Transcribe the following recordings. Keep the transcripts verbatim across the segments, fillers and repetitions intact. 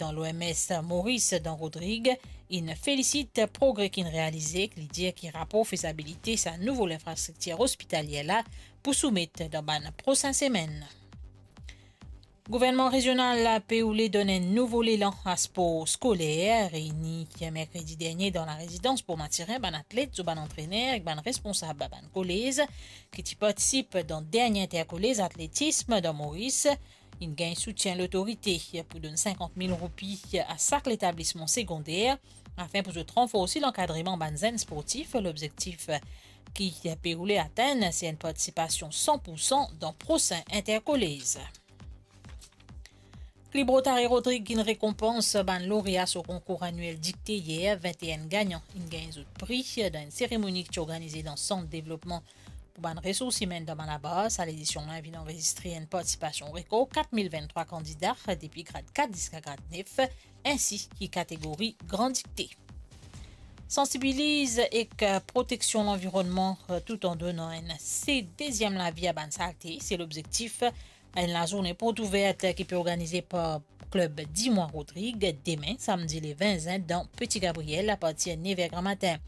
dan l'O M S Moris, Dan Rodrigue, inn felisit progre ki'nn realize, ki li dir ki rapor fezabilite sa nouvo linfrastriktir ospitalie la pou soumet dan bann prosin semenn. Gouvernman rezional pe oule donn enn nouvo lelan a spor skoler. Reyini merkredi dernie dan larezidans Bourg Mathurin, bann atlet, zot bann antrener ek bann responsab bann kolez ki ti partisip dan dernie interkolez atletism dan Moris, inn gagn soutien lotorite pou donn sinkant mil roupi a sak letablisman segonder, afin pou zot ranforsi lankadreman bann zenn sportif. Lobzektif ki pe oule atenn, se enn partisipasion san pou san dan prosin interkolez. Klib Rotary Rodrig inn rekonpans bann lorea so konkour aniel dikte yer. Vinte-enn gagnan inn gagn zot pri dan enn seremoni ki ti organize dan Sant Devlopman pou bann Resours Imenn dan Malabar. Sa ledision la vinn anrezistre enn partisipasion rekor, kat mil vinn-trwa kandida, depi grad kat ziska grad nef, ensi ki kategori Gran Dikte. Sansibiliz ek proteksion lanvironnman, tout an donn enn se deziem lavi a bann salte, se lobzektif enn lazourne port ouver ki pe organize par klib Dimwa Rodrig demin, samdi le vin zin, dan Petit Gabriel, apartir nev er gramatin.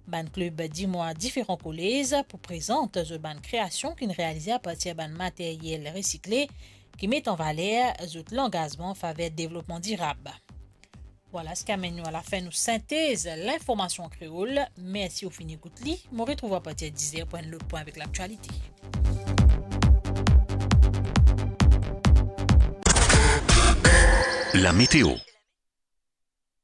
Bann klib Dimwa diferan kolez pou prezant zot bann kreasion ki'nn realize apartir bann materyel resikle, ki met an valer zot langazman faver devlopman dirab. Vwala seki amenn nou a lafin nou sintez linformasion an kreol. Mersi ou finn ekout li. Mo retrouv apartir diz er pou enn lot pwin avek laktialite. Lameteo.